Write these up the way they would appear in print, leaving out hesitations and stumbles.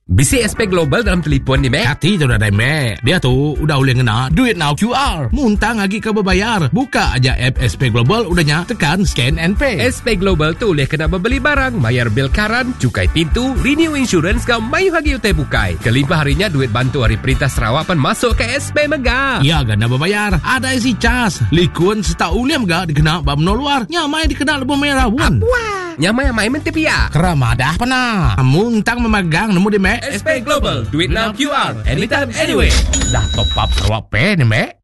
Bisi SP Global dalam telipon ni, Mek? Kati tu nadai, Mek. Dia tu udah ulih ngena DuitNow QR. Muntang agi ke bebayar. Buka aja app SP Global udah nya tekan scan and pay. SP Global tu ulih kena bebeli barang, mayar bil karan, cukai pintu, renew insurance enggau mayuh agi utai bukai. Kelimpah ari nya duit bantu ari perintah Sarawak pan masuk ke SP mega. Iya ga enda bebayar. Adai si cas. Likun sereta ulih mega dikena ba menua luar. Nya mai dikena lebuh maya raun. Apuah. Nyamai amai menti pia. Kera madah pena. Muntang memagang nemu di mek. SP Global, duit now QR, anytime anywhere. Dah top up Sarawak Pay ni mek.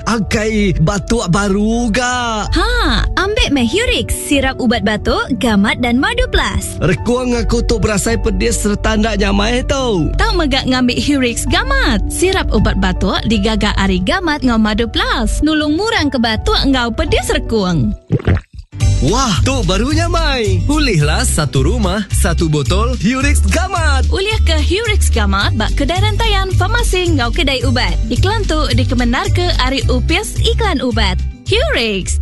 Akai batuk baru ga. Ha, ambik meh Hurix, sirap ubat batuk, gamat dan madu plus. Rekung aku tu berasai pedis sereta enda nyamai tu. Tau mega ngambi Hurix Gamat, sirap ubat batuk digaga ari gamat enggau madu plus, nulung murang ke batuk enggau pedis rekung. Wah, tu baru nyamai. Ulihlah satu rumah, satu botol Hurix Gamat. Ulih ke Hurix Gamat ba kedai rentayan, farmasi enggau kedai ubat. Iklan tu dikemendarka ari Opis Iklan Ubat. Hurix.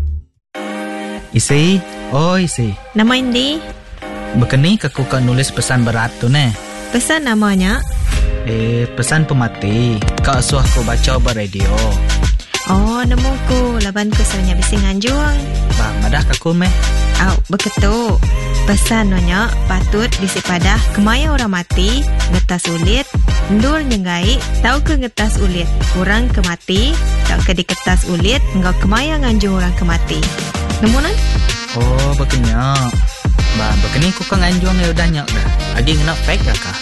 Isi, oi isi. Nama indi? Bekeni ke ku ka nulis pesan berat tu neh? Pesan nama nya? Eh, pesan pemati. Ka suah ku bacha ba radio. Oh, nemu ku laban ku selalu nya bisi nganjung. Ba, madah ka ku meh. Au, beketu. Pesan no nya patut bisi padah kemaya orang mati, ngetas ulit, endur nyenggai tauka ngetas ulit orang ke mati tauka diketas ulit enggau kemaya nganjung orang ke mati. Nemu nan? Oh, baka nya. Ba, baka ni ku ka nganjung iya udah nya ga. Agi ngena fax ga kah?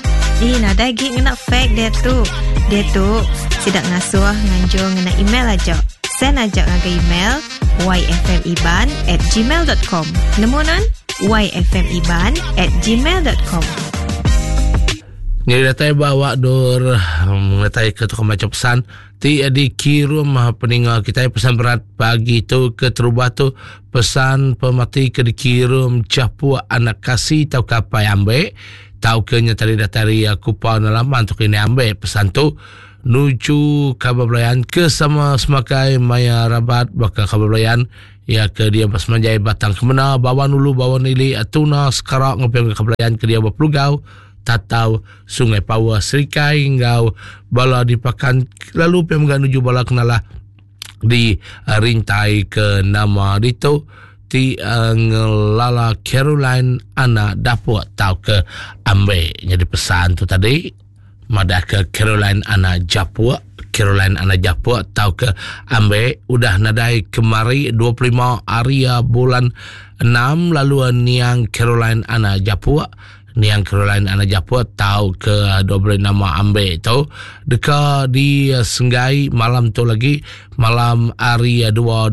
Ih, nadai agi ngena fax diatu. Diatu, sida ngasuh nganjung ngena email aja. Send aja ngagai email yfmiban at gmail dot com. Nemu nan? yfmiban at gmail dot com. Nyadi datai ba awak dur ngetai ke tukang macha pesan ti dikirum peninga kitai pesan berat pagi tu keterubah tu pesan pemati ke dikirum Chapuk anak kasi tauka apai ambek tauka nya tadi datai ari Kupa Nelaman tu kini ambek pesan tu nuju kaban belayan ke sama semakai maya rabat baka kaban belayan ya ke dia bersemanjai Batang Kemena Bawan Ulu Bawan Ili Tuna Sekarak ngepeng kaban belayan ke dia berpelugau Tatau Sungai Pawa Serikai enggau bala di Pakan lalu pia mega nuju bala kenalah di uh, rintai ke nama ditu ti uh, ngelala Caroline anak dapuk tau ke ambe jadi pesan tu tadi madah ke Caroline anak japuk Caroline anak japuk tau ke ambe udah nadai kemari 25 hari bulan 6 lalu niang Caroline anak japuk Niang Caroline anak Japut tau ke dua nama ambe tu deka di senggai malam tu lagi malam hari 2.26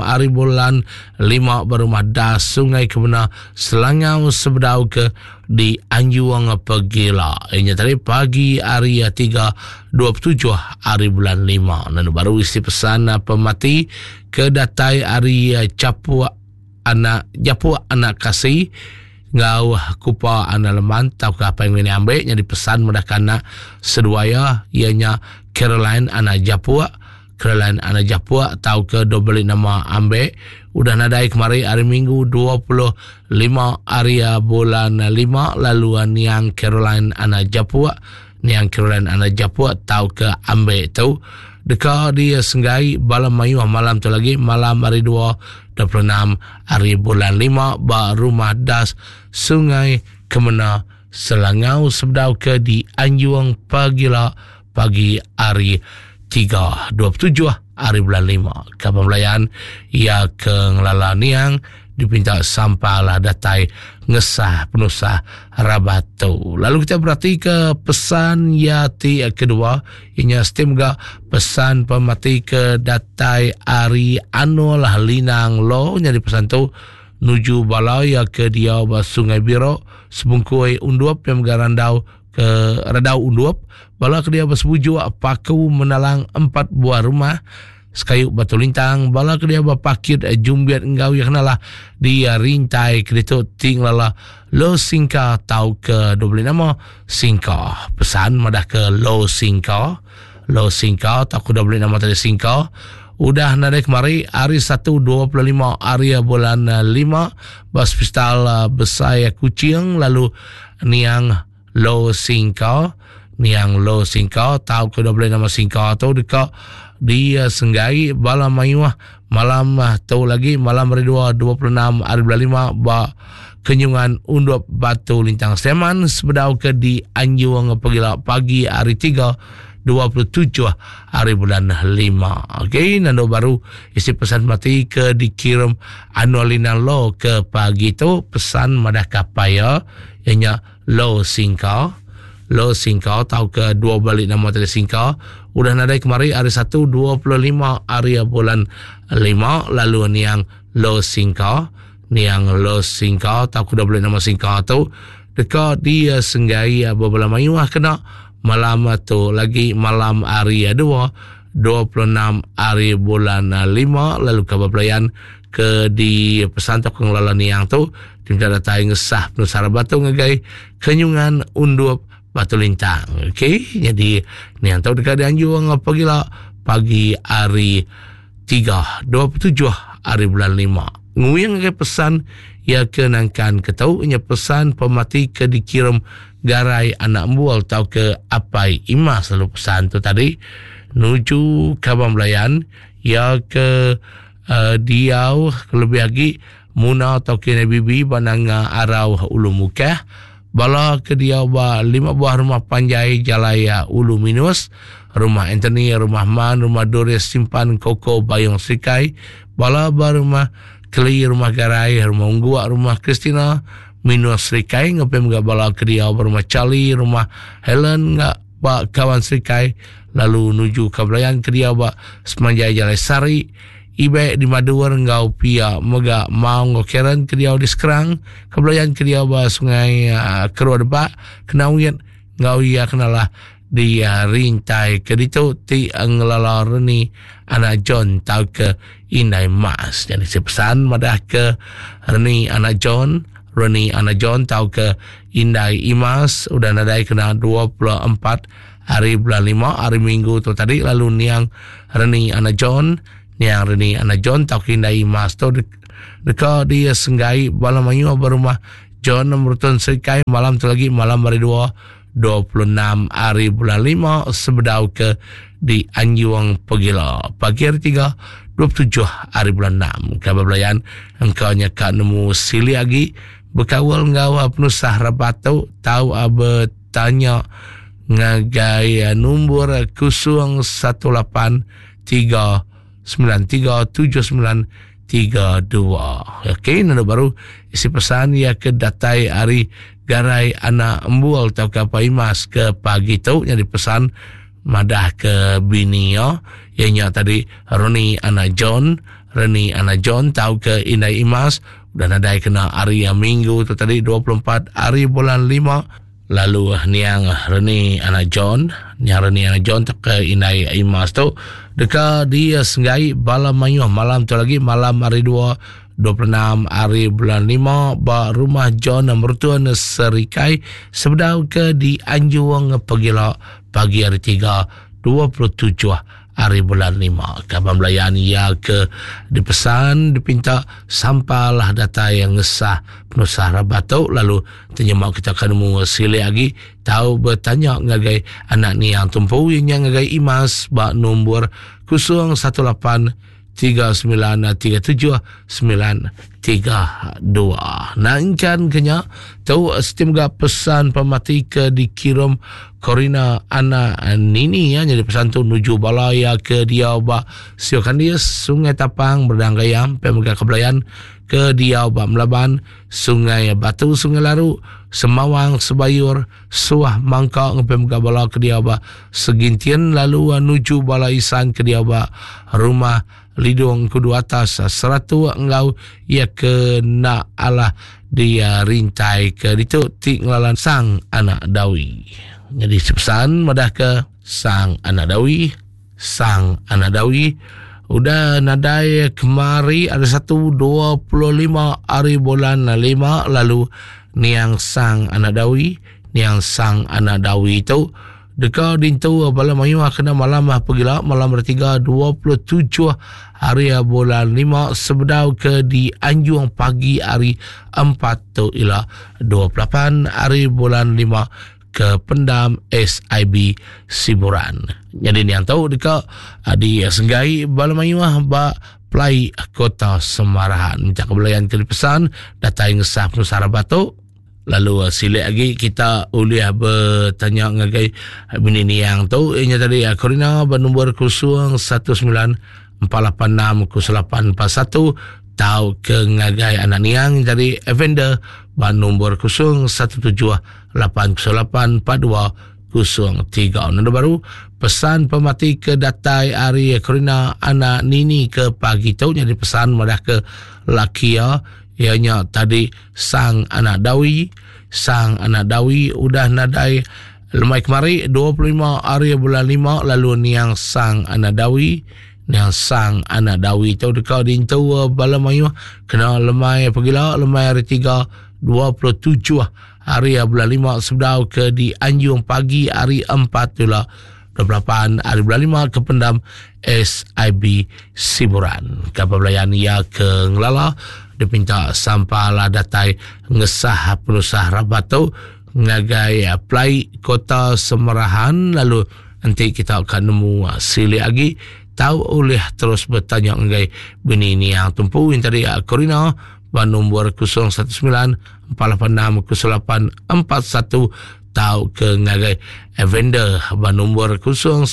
hari bulan 5 berumah das Sungai Kemena Selangau sebedau ke di Anjuang Pegila. Inya tadi pagi hari 3.27 hari bulan 5. Lalu baru isi pesan pemati ke datai hari Capuk anak Japuk anak Kasi enggau Kupa anak Leman tauka apai ngini ambi nyadi pesan meda ke anak seduai iya iya nya Caroline anak Japuk Caroline anak Japuk tauka dok beli nama ambi udah nadai kemari hari Minggu 25 hari bulan 5 lalu niang Caroline anak Japuk Niang Caroline anak Japuk tauka ambi tu deka disenggai bala mayuh malam tu lagi malam hari 2 26 hari bulan 5 ba Rumah Das Sungai Kemena Selangau sebedau ke di Anjung pagila pagi hari 3 27 hari bulan 5. Kaban belayan iya ke ngelala niang dipinta sampalah datai ngesah penusah rabat tu. Lalu kita berati ke pesan ya ti kedua inya seti mega pesan pemati ke datai ari Anul Linang Lo nyadi pesan tu nuju bala ya ke diau ba Sungai Biro Sebungkui Undup yang mega randau ke Radau Undup bala ke diau ba Sebujuk Paku Menalang empat buah rumah Sekayu Batu Lintang, bala ke dia bepakit jumbit enggau iya kenalah di rintai ke ditu ti ngelala Lo Singka tau ke dua beli nama Singka. Pesan madah ke Lo Singka, Lo Singka tau ke dua beli nama tadi Singka udah nadai kemari hari 1 25 hari bulan 5 ba Hospital Besai Kuching lalu niang. Lo Singka niang Lo Singka tau ke boleh nama Singka tu deka di senggai bala mayuh malam tu lagi malam hari 2 26 hari bulan 5 ba Kenyungan Undup Batu Lintang Seman sebedau ke di Anjung pegila pagi hari 3 27 hari bulan 5. Okey, nando baru isi pesan mati ke dikirim Anualina Lo ke pagi tu pesan madah kapai ya ianya Lo Singka. Lo Singka tau ke dua balik nama tadi Singka udah nadai kemari hari 1 25 hari bulan 5 lalu niang Lo Singka niang Lo Singka tau ke dua balik nama Singka tu deka dia senggai bebala mayuh kena malam tu lagi malam hari 2 26 hari bulan 5 lalu kabar pelayan ke di pesan tu pengelola niang tu diminta datai ngesah penusah batu ngagai kenyungan undup batu lintang. Okey, jadi niang tu dekat dianjung pagila pagi hari 3 27 hari bulan 5. Nguyang ngagai pesan ia ke nangkan ke tau nya pesan pemati ke dikirim garai anak embual tau ke apai imas lalu pesan tu tadi nuju kaban belayan ia ke uh, diau lebih lagi Muna atau kini bibi bananga arau ulu mukah bala ke diau ba lima buah rumah panjai jalai ulu minus rumah Anthony rumah Man rumah Doris simpan koko bayong sikai bala ba rumah Keli rumah Garai rumah Ungguak rumah Christina minus Serikai ngepim ga bala ke diau ba rumah Charlie rumah Helen ga ba kawan Serikai lalu nuju ke belayan ke diau ba semanjai jalai Sari Ibe di Madur enggau pia mega Mau enggau Karen ke diau di Skrang ke belayan ke diau ba Sungai uh, Kerua Debak Kenawit enggau iya kenalah di uh, rintai ke ditu ti ngelala Reni anak John tau ke Indai Mas. Jadi si pesan madah ke Reni anak John, Reni anak John tau ke Indai Imas udah nadai kena 24 hari bulan 5 hari Minggu tu tadi lalu niang Reni anak John, niang Reni anak John tau ke Indai Imas tu deka dia senggai bala mayuh berumah John Mertun Serikai malam tu lagi malam hari 2 26 hari bulan 5 sebedau ke di Anjung Pegila. Pagi hari 3, 27 hari bulan 6. Kabar belayan, engkau nya kak nemu sili lagi berkawal enggau penusah rabat tu tau bertanya ngagai nombor 018 3 9379 32. Okey, nanda baru isi pesan ia ke datai hari garai anak embual tau ke apa imas ke pagi tu jadi pesan madah ke bini ya ianya tadi Roni anak John Reni anak John tau ke Indai Imas udah nadai kena hari yang minggu tu tadi 24 hari bulan 5 Lalu niang Reni anak John, niang Reni anak John ke indai Imas tu deka dia senggai bala mayuh malam tu lagi malam hari 2 26 hari bulan 5 ba rumah John Mertuan Serikai sebedau ke di Anjung Pegila pagi hari 3 27 hari bulan 5. Kaban belayan ia ke dipesan dipinta sampalah datai yang ngesah penusah rabat tu lalu Tenyemak kita akan nemu silik lagi tahu bertanya ngagai anak ni yang tumpu yang ngagai imas ba nombor 018 3937 932. Nangkan kenya tu setim ga pesan pemati ke dikirim Corina anak Nini ya jadi pesan tu nuju bala ya ke dia ba Siokandis Sungai Tapang Berdang Gayam Pemega Kebelayan ke diau ba Melaban Sungai Batu Sungai Laru, Semawang Sebayur, Suah Mangka ngepe mega bala ke diau ba Segintin lalu nuju bala isan ke diau ba Rumah Lidung Kudu Atas Seratuk enggau iya ke enda alah di rintai ke ditu ti ngelalan Sang Anak Dawi. Nyadi sepesan madah ke Sang Anak Dawi Sang Anak Dawi udah nadai kemari ada 1.25 hari bulan 5 lalu niang Sang Anak Dawi niang Sang Anak Dawi itu deka dintu bala mayuh kena malam pegila malam bertiga 27 hari bulan 5 sebedau ke di Anjung pagi hari 4 tu ila 28 hari bulan 5. ke pendam SIB Siburan. Nyadi niang tu deka ah, di senggai bala mayuh ba Pelai Kota Semarahan. Minta kebelayan ke dipesan datai ngesah penusah rabat tu. Lalu ah, silik lagi kita ulih bertanya ngagai bini niang tu ianya tadi ah, Corina bernombor 019 486 0841 tau ke ngagai anak niang jadi Evander ba nombor 017 808 4203. Nanda baru pesan pemati ke datai ari Corina anak Nini ke pagi tu jadi pesan madah ke laki iya ianya tadi sang anak Dawi sang anak Dawi udah nadai lemai kemari 25 hari bulan 5 lalu niang sang anak Dawi niang sang anak Dawi tu deka dintu bala mayuh kena lemai pegila lemai hari 3 27 hari bulan 5 sebedau ke di Anjung pagi hari 4 tula 28 hari bulan 5 ke pendam SIB Siburan. Kapal belayan ia ke ngelala dipinta sampah lah datai ngesah penusah rabat tu ngagai plai kota Semerahan lalu enti kita akan nemu silik lagi tau ulih terus bertanya ngagai bini niang tumpu yang tadi Corina ba nombor 019 486 0841 tau ke ngagai Evander ba nombor 017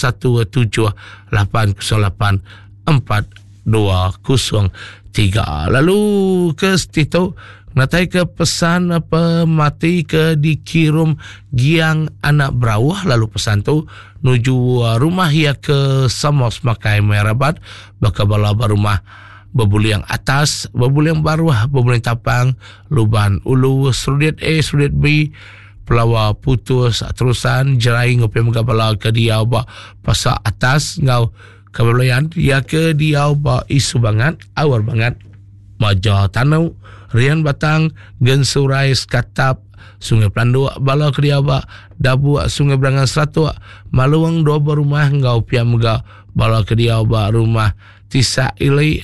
808 4203. Lalu ke situ natai ke pesan pemati ke dikirum Giang Anak Berauh lalu pesan tu nuju rumah ia ke Samos Makai Merabat baka bala ba rumah Bebuling atas, bebuling baruh, bebuling tapang, luban ulu, serudit A, serudit B, pelawa putus, terusan, jerai ngopi mega bala ke diau ba pasar atas ngau kebelayan ya ke diau ba isu bangat, awar bangat, maja tanu, rian batang, gensurai sekatap, Sungai Pelanduk, bala ke diau ba Dabuk, Sungai Berangan Seratuk, Maluang dua buah rumah enggau pia mega bala ke diau ba rumah Tisak Ili,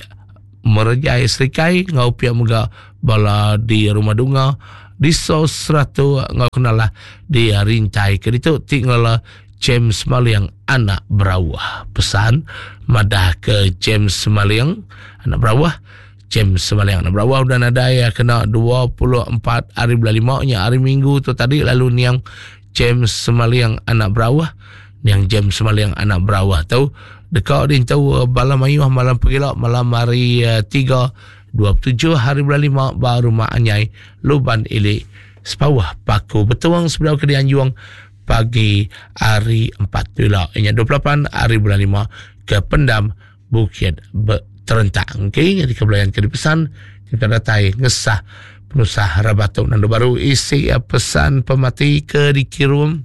Merejai Serikai enggau pia mega bala di Rumah Dunga, di Sos Seratuk enggau kenalah di Rintai ke ditu ti ngelala James Maling anak Berauh. Pesan madah ke James Maling anak Berauh James Maling anak Berauh udah nadai kena 24 hari bulan 5 nya hari Minggu tu tadi lalu niang James Semaling anak Berauh niang James Semaling anak Berauh tu deka dintu eh, bala mayuh malam pegila malam hari 3 eh, 27 hari bulan 5 ba rumah Anyai Luban Ili Sepawah Paku Betuang sebedau ke dianjung pagi hari 4 tu ila inya 28 hari bulan 5 ke pendam Bukit Terentang. Okey, jadi kebelayan ke dipesan kita datai ngesah penusah rabatuk nandu baru isi pesan pemati ke dikirum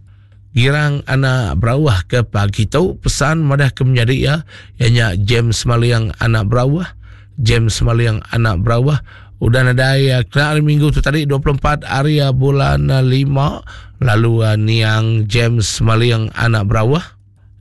Girang anak Berauh ke pagi tu pesan madah ke menyadi iya ianya James Maliang anak Berauh James Maliang anak Berauh udah nadai kena hari Minggu tu tadi 24 hari bulan 5 lalu niang James Maliang anak Berauh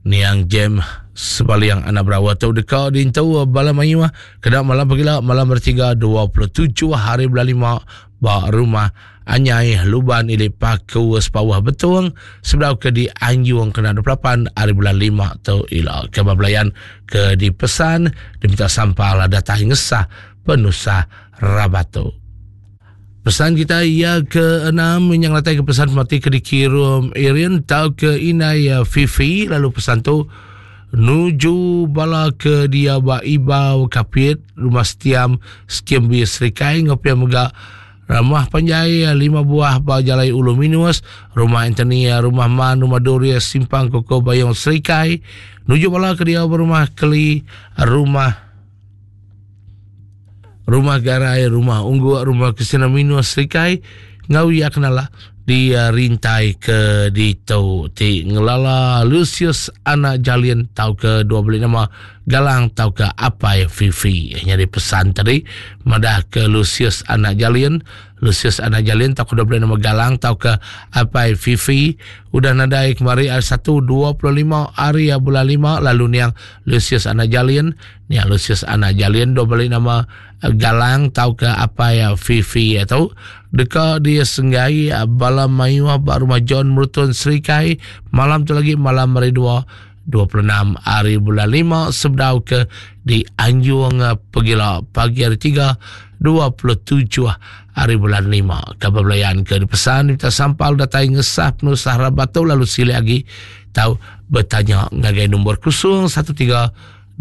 Niang James Sebaliang anak Berawah tu deka dintu bala mayuh kena malam pagila malam bertiga 27 hari bulan 5 ba rumah Anyai Luban Ili Paku Sepawah Betung sebedau ke dianjung kena 28 hari bulan 5 tu ila ke belayan ke dipesan diminta sampal datai ngesah penusah rabat tu. Pesan kita iya ke enam yang datai ke pesan mati ke dikirum Irin tau ke inai ya Fifi lalu pesan tu nuju bala ke dia ba ibau kapit rumah setiam skim bi serikai ngopi mega ramah panjai lima buah ba jalai ulu minus rumah Anthony rumah Man rumah Doria simpang koko bayong serikai nuju bala ke dia ba rumah keli rumah Rumah Garai, Rumah Ungguk, Rumah Kristina Minus Serikai enggau iya kenala di eh, rintai ke ditu ti ngelala Lucius anak Jalin tauka dua beli nama Galang tauka Apai Fifi. Nyadi pesan tadi madah ke Lucius anak Jalin. Lucius Anak Jalin tauka diberi nama Galang tauka Apai Fifi udah nadai kemari hari Satu 25 hari bulan 5 lalu niang Lucius Anak Jalin niang Lucius Anak Jalin diberi nama Galang tauka Apai Fifi tu deka disenggai bala mayuh ba rumah John Merutun Serikai malam tu lagi malam hari 2 26 hari bulan 5 sebedau ke di Anjung Pegila pagi hari 3 27 hari bulan 5. Kabar belayan ke dipesan minta sampal datai ngesah penusah rabat tu lalu silih agi tau bertanya ngagai nombor 013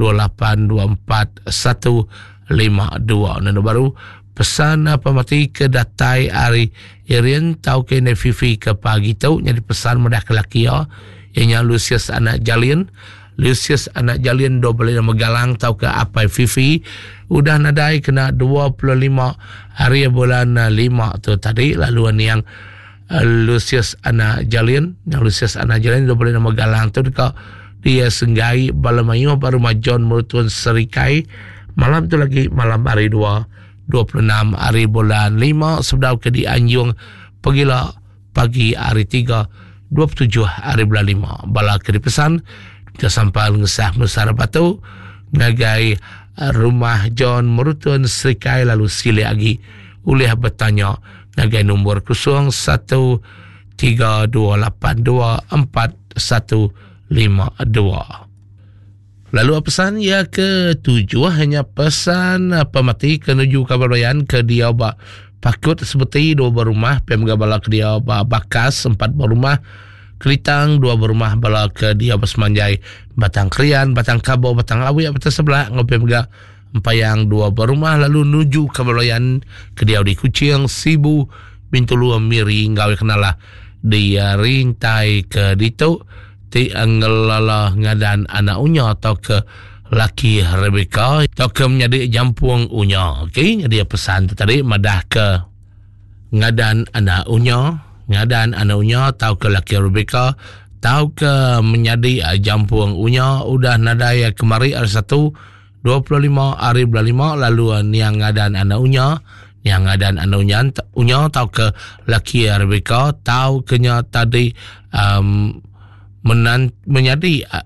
2824 152. Nombor baru pesan pemati ke datai ari Irin tau ke indai Fifi ke pagi tu nyadi pesan madah ke laki iya iya nya Lucius anak Jalin. Lucius anak Jalin dua beli nama Galang tau ke apai Fifi udah nadai kena 25 hari bulan 5 tu tadi lalu niang Lucius anak Jalin yang Lucius anak Jalin dua beli nama Galang tu deka dia senggai bala mayuh ba rumah John Merutun Serikai malam tu lagi malam hari 2 26 hari bulan 5 sebedau ke dianjung pegila pagi hari 3 27 hari bulan 5 bala ke dipesan ke sampal ngesah mesara batu ngagai rumah John Merutun Serikai lalu silih agi ulih bertanya ngagai nombor 01 32824152. Lalu pesan ia ke tujuh hanya pesan pemati ke nuju kabar bayan ke dia ba pakut seperti dua berumah pem bala ke dia ba bakas empat berumah Kelitang dua berumah bala ke dia bersemanjai Batang Krian, Batang Kabo, Batang Awi, Batang Sebelah ngau pem Empayang dua berumah lalu nuju ke Belayan ke diau di Kuching, Sibu, Bintulu, Miri enggau kenalah di rintai ke ditu ti ngelala ngadan anak unya atau ke laki Rebecca atau ke menyadi jampung unya. Okey, jadi pesan tu tadi madah ke ngadan anak unya, ngadan anak unya atau ke laki Rebecca tau ke menyadi jampung unya udah nadai kemari hari satu 25 hari bulan 5 lalu niang ngadan anak unya niang ngadan anak unya unya tau ke laki Rebecca tau ke nya tadi um, menan, menyadi uh,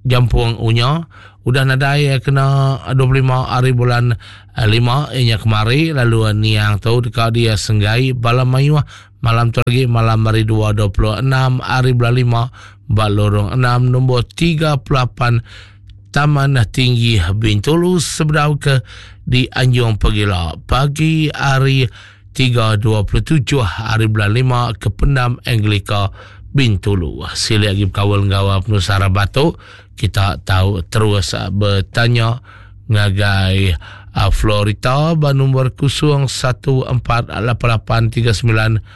jampung unya udah nadai kena 25 hari bulan 5 inya kemari lalu niang tu deka dia senggai bala mayuh malam tu lagi malam hari 2 26 hari bulan 5 ba lorong 6 nombor 38 Taman Tinggi Bintulu sebedau ke di Anjung Pegila pagi hari 3.27 hari bulan 5 ke Pendam Anglika Bintulu. Sila lagi berkawal enggau penusah batu kita tahu terus bertanya ngagai Florita ba nombor 01488392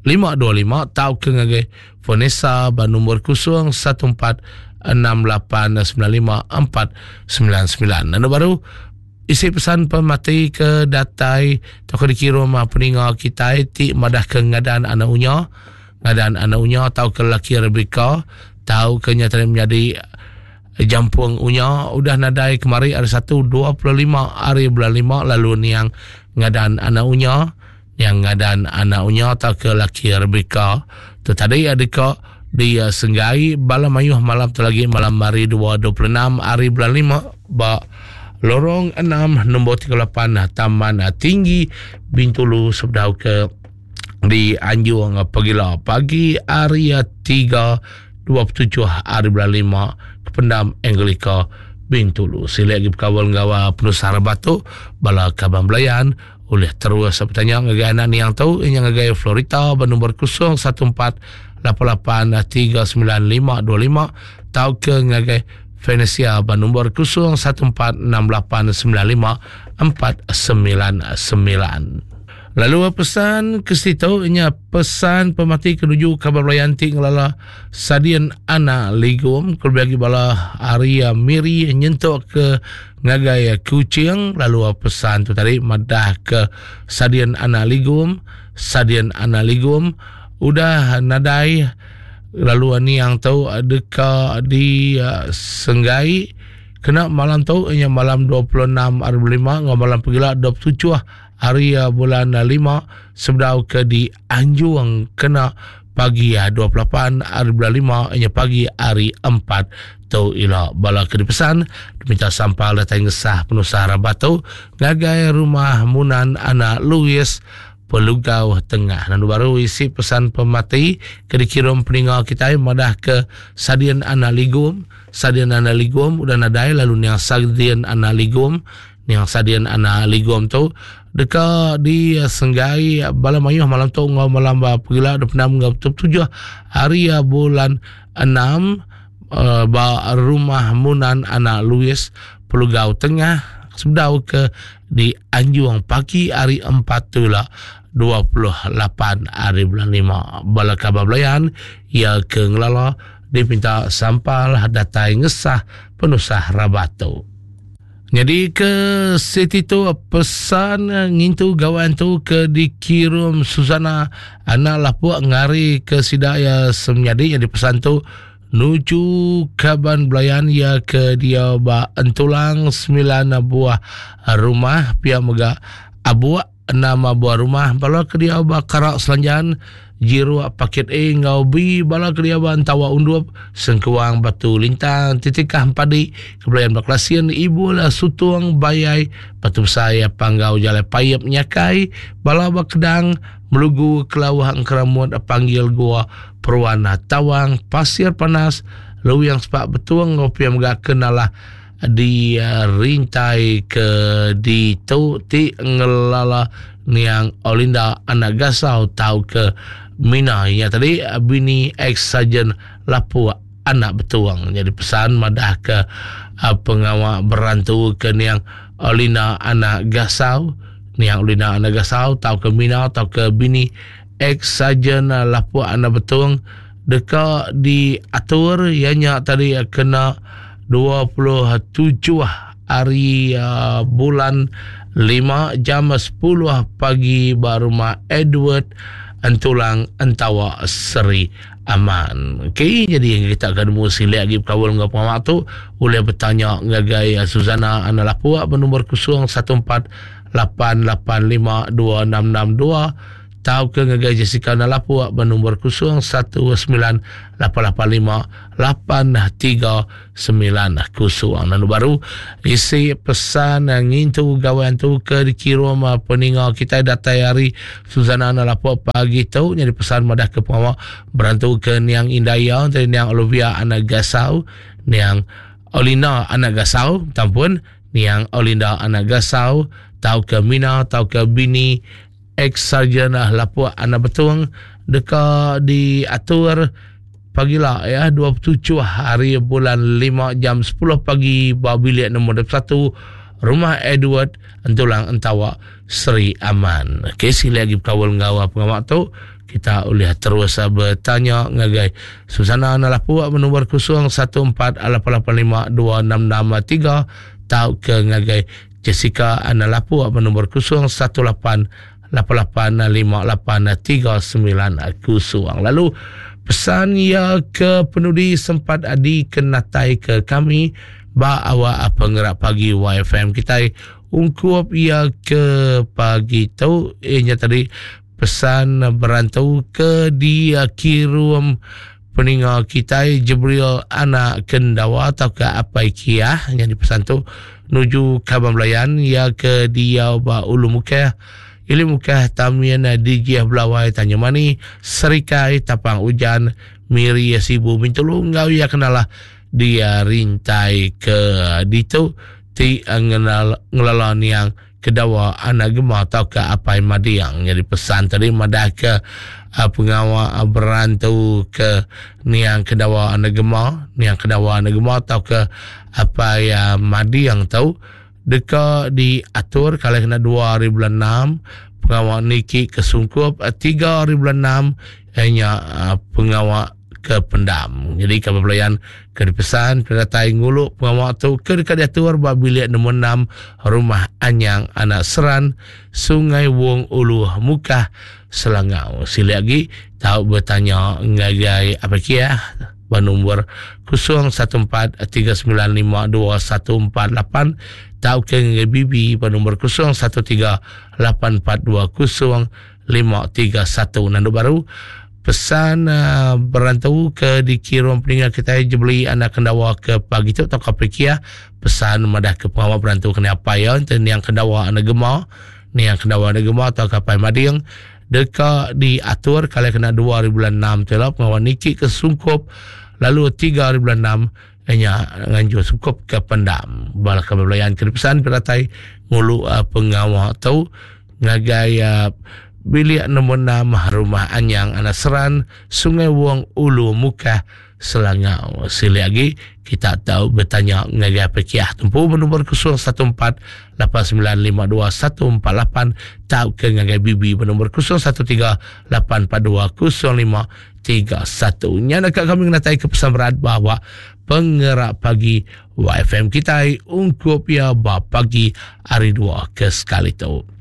525 tauka ngagai Vanessa ba nombor 0146895499. Anu baru isi pesan pemati ke datai tauka dikirum peninga kitai ti madah ke ngadan anak unya ngadan anak unya tauka laki Rebecca tauka nya tadi menjadi jampung unya udah nadai kemari hari 1 25 hari bulan 5 lalu niang ngadan anak unya Yang ngadan anak unya tauka laki Rebecca tu tadi deka di senggai bala mayuh malam tu lagi malam hari 2 26 hari bulan 5 ba Lorong 6 nombor 38 Taman Tinggi Bintulu sebedau ke di Anjung Pegila pagi hari 3 27 hari bulan 5 ke Pendam Anglika Bintulu. Sila lagi berkawal enggau penusah batu bala kaban belayan Ulih terus betanya ngagai anak niang tu inya ngagai Florita ba nombor 014 88 39525 tauka ngagai Venesia ba nombor 014 6895 499. Lalu pesan ke situ inya pesan pemati ke nuju kaban belayan ti ngelala Sadin Anak Ligum kelebih agi bala ari Miri nyentuk ke ngagai Kuching lalu pesan tu tadi madah ke Sadin Anak Ligum Sadin Anak Ligum udah nadai lalu niang tu deka di senggai kena malam tu inya malam 26 hari 5 enggau malam pegila 27. hari bulan 5 sebedau ke dianjung kena pagi 28 hari bulan 5 inya pagi hari 4 tu ila. Bala ke dipesan diminta sampal datai ngesah penusah rabat tu ngagai rumah Munan anak Louis Pelugau Tengah. Lalu baru isi pesan pemati ke dikirum peninga kitai madah ke Sadin anak Ligum, Sadin anak Ligum udah nadai lalu niang Sadin anak Ligum, niang Sadin anak Ligum tu deka disenggai bala mayuh malam tu enggau malam pegila 26 enggau 27 hari bulan 6 ba rumah Munan anak Louis Pelugau Tengah sebedau ke di Anjung pagi hari 4 tu ila 28 hari bulan 5. Bala kaban belayan iya ke ngelala dipinta sampal datai ngesah penusah rabat tu. Nyadi ke siti tu pesan ngintu gawai antu ke dikirum Susana anak lapuk ngari ke sida iya semenyadi nyadi pesan tu nuju kaban belayan iya ke diau ba Entulang 9 buah rumah pia mega Abuk 6 buah rumah bala ke diau ba Karak Selanjan Jiruk Paket A enggau B bala ke diau ba Entawa Undup Sengkuang Batu Lintang Titikah Empadi Kebelayan ba Kelasin Ibul Sutung Bayai Batu Besai Panggau Jalai Paip Nyakai bala ba Kedang Melugu Kelauh Engkeramut Panggil Gua Peruan Tawang Pasir Panas Luing Sepak Betung enggau pia mega ke nalah di rintai ke ditu ti ngelala niang Olinda anak Gasau tauka Mina iya tadi bini ex Sarjan Lapuk anak Betung. Jadi pesan madah ke pengawa berantu ke niang Olinda anak Gasau, niang Olinda anak Gasau tauka Mina tauka bini ex Sarjan Lapuk anak Betung deka diatur iya nya tadi kena 27 hari bulan 5 jam 10 pagi ba rumah Edward Entulang Entawa Seri Aman. Okey, jadi kita akan nemu silik lagi berkaul enggau pengawa tu boleh bertanya ngagai Suzana Anak Lapuk bernombor 014 885 2662 tauka ngagai Jessica Nalapuk benombor 019 885 8390. Lalu baru isi pesan ngintu gawai antu ke dikirum peninga kitai datai hari Suzana Nalapuk pagi tu nyadi pesan madah ke pengawa berantu ke niang indai iya entara niang Olivia anak Gasau, niang Olina anak Gasau, tampun niang Olinda anak Gasau tauka Mina tauka bini Ex-Sarjan Lapuk Anak Betung deka diatur pagila ya 27 hari bulan 5 jam 10 pagi ba bilik nombor 21 Rumah Edward Entulang Entawa Seri Aman. Okey, sila lagi berkaul enggau pengawa tu kita boleh terus bertanya ngagai Susana Anak Lapuk bernombor 0148852663 tauka ngagai Jessica Ana Lapuk benombor 018 885839 0. Lalu pesan iya ke penudi sempat adi kenatai ke kami ba awak pengerak pagi YFM kitai ungkup iya ke pagi tu ianya tadi pesan berantu ke dikirum peninga kitai Jibril anak Kendawa tauka Apai Kiah nyadi pesan tu nuju kaban belayan iya ke diau ba Ulu Mukah, Ili Mukah, Tamin, Dijih Belawai, Tanjung Mani, Serikai, Tapang Ujan, Miri, Sibu, Bintulu enggau iya kenalah dia rintai ke ditu ti ngenal ngelala niang Kedawa anak Gema tauka Apai Mading. Nyadi pesan tadi madah ke pengawa berantu ke niang Kedawa anak Gema, niang Kedawa anak Gema tauka Apai Mading tu deka diatur kala kena 2 hari bulan 6, pengawa niki ke sungkup 3 hari bulan 6 iya nya pengawa ke pendam. Jadi kaban belayan ke dipesan penatai ngulu pengawa tu ke deka diatur ba bilik nombor 6 Rumah Anyang Anak Seran, Sungai Wong Ulu Mukah, Selangau. Silik agi tau betanya ngagai Apai Kiah. Ba nombor 014 395 2148 tauka ngagai BB ba nombor 013 842 0531. Nandu baru pesan uh, berantu ke dikirum peninga kita jebeli anak kendawa ke pagi tu atau ke pesan madah ke pengawa berantu kena apa ya ente niang kendawa anak gema niang kendawa anak gema atau kapai mading deka diatur kali kena 2 hari bulan 6 tu lah pengawa niki ke sungkup lalu 3 hari bulan 6 nya nganjur sungkup ke pendam bala kami belayan ke pesan peratai ngulu uh, pengawa tu ngagai uh, bilik nombor 6 rumah Anyang Anak Seran Sungai Wong Ulu Mukah Selangau. Silik agi kita tau betanya ngagai Pekiah Tempu bernombor 014 8952 148 tauka ngagai BB bernombor 013 842 0531. Nya dekat kami ngenatai ke pesan berat bahawa pengerak pagi YFM kitai ungkup ya ba pagi hari dua ke sekali tu.